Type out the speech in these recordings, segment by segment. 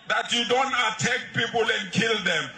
That you don't attack people and kill them.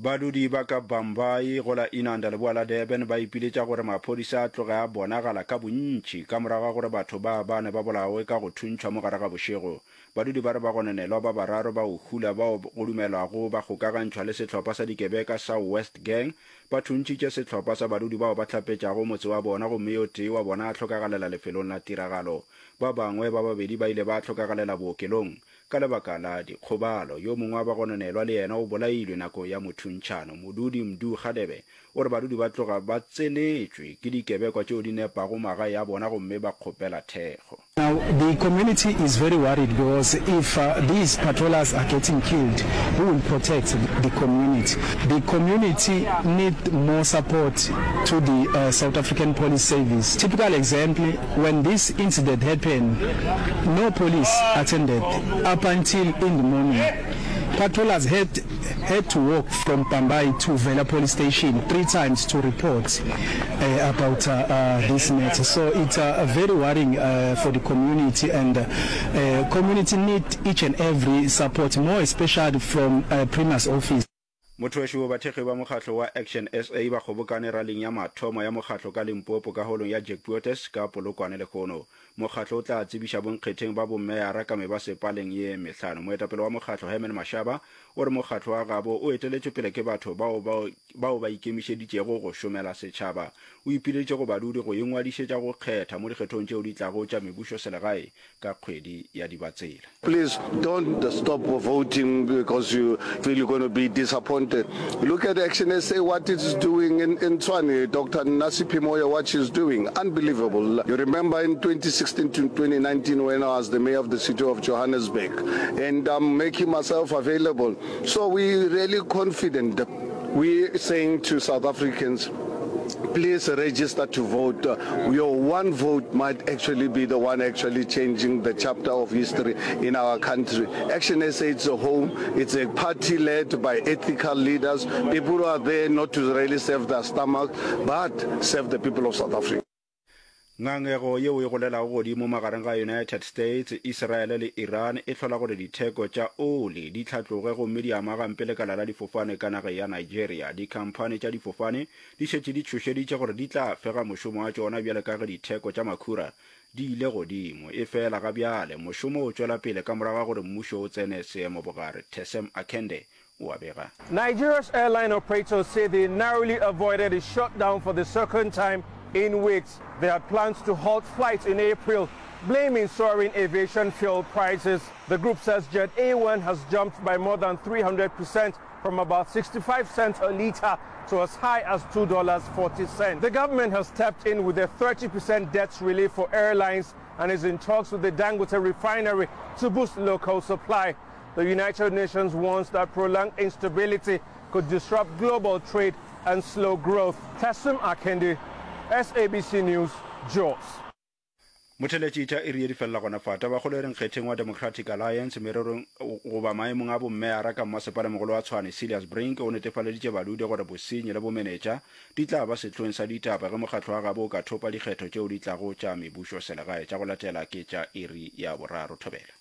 Badudi ba ka Bhambayi go la Inanda leboa la Durban ba ipiletša gore maphodisa a tloge a bonagala ka bontši ka morago ga gore batho ba bane ba bolawe ka go thuntšhwa mo gare ga bošego. Badudi ba re bagononelwa ba bararo ba go hula bao go dumelwago ba kgokagantšhwa le sehlopha sa dikebeka sa West Gang ba thuntšhitše sehlopha sa badudi bao ba hlapetšago motse wa bona gomme yo tee wa bona a hlokagalela lefelong la tiragalo. Ba bangwe ba babedi ba ile ba hlokagalela bookelong. Ka lebaka la dikgobalo, yo mongwe wa bagononelwa le yena o bolailwe nako ya mothuntšhano. Modudi Mdu Gadebe o re badudi ba tloga ba tsenetšwe ke dikebekwa tšeo di nepago magae a bona gomme ba kgopela thekgo. Now the community is very worried because if these patrollers are getting killed, who will protect the community? The community need more support to the South African Police Service. Typical example, when this incident happened, no police attended up until in the morning. Patrollers had had to walk from Bhambayi to Vela police station three times to report uh, about uh, uh, this matter. So it's uh, very worrying uh, for the community, and uh, uh, community need each and every support, more especially from uh, Premier's office. Motho wešo, Bathekgi ba mokgatlo wa Action SA ba kgobokane raling ya mathomo ya mokgatlo ka Limpopo ka holong ya Jack Puotes ka Polokwane lehono. Mokgatlo o tla tsebiša bonkgetheng ba bommeyara ka mebasepaleng ye mehlano. Moetapele wa mokgatlo Herman Mashaba o re mokgatlo wa gabo o eteletšwe pele ke batho bao bao ba ikemišeditšego go šomela setšhaba. O ipileditše go badudi go ingwadišetša go kgetha mo dikgethong tšeo di tlago tša mebušoselegae ka kgwedi ya Dibatsela. Please don't stop voting because you feel you're going to be disappointed. Look at Action SA, what it's doing in, in Tshwane, Dr. Nasiphi Moya, what she's doing. Unbelievable. You remember in 2016 to 2019 when I was the mayor of the city of Johannesburg and I'm making myself available. So we're really confident. We're saying to South Africans, please register to vote. Your one vote might actually be the one actually changing the chapter of history in our country. Action SA is a home. It's a party led by ethical leaders, people who are there not to really serve their stomach, but serve the people of South Africa. Ngangego yeo e golelago godimo magareng ga United States, Israele le Iran e hlola gore ditheko tša oli di hlatloge gomme di ama gampe lekala la difofane ka nageng ya Nigeria. Dikhamphani tša difofane di šetše di tšhošeditše gore di tla fega mošomo wa tšona bjale ka ge ditheko tša makhura di ile godimo. Efela ga bjale mošomo o tšwela pele ka morago ga gore mmušo o tsene seemobogare. Tessem Akende o a bega. Nigeria's airline operators say they narrowly avoided a shutdown for the second time in weeks. They had plans to halt flights in April, blaming soaring aviation fuel prices. The group says Jet A1 has jumped by more than 300% from about 65 cents a liter to as high as $2.40. The government has stepped in with a 30% debt relief for airlines and is in talks with the Dangote refinery to boost local supply. The United Nations warns that prolonged instability could disrupt global trade and slow growth. Tessim Akendi, SABC News, Jos. Motheletši tša iri ye di felela gona fa. Tabakgolo e re nkgetheng wa Democratic Alliance mererong goba maemong a bommeyara ka mmasepalemogolo wa Tshwane Cilliers Brink o netefaleditše badudi gore bosenyi le bomenetša di tla ba sehlong sa ditaba ge mokgatlo wa gabo o ka thopa dikgetho tšeo di tlago tša mebušoselegae tša go latela ke tša iri ya boraro. Thobela.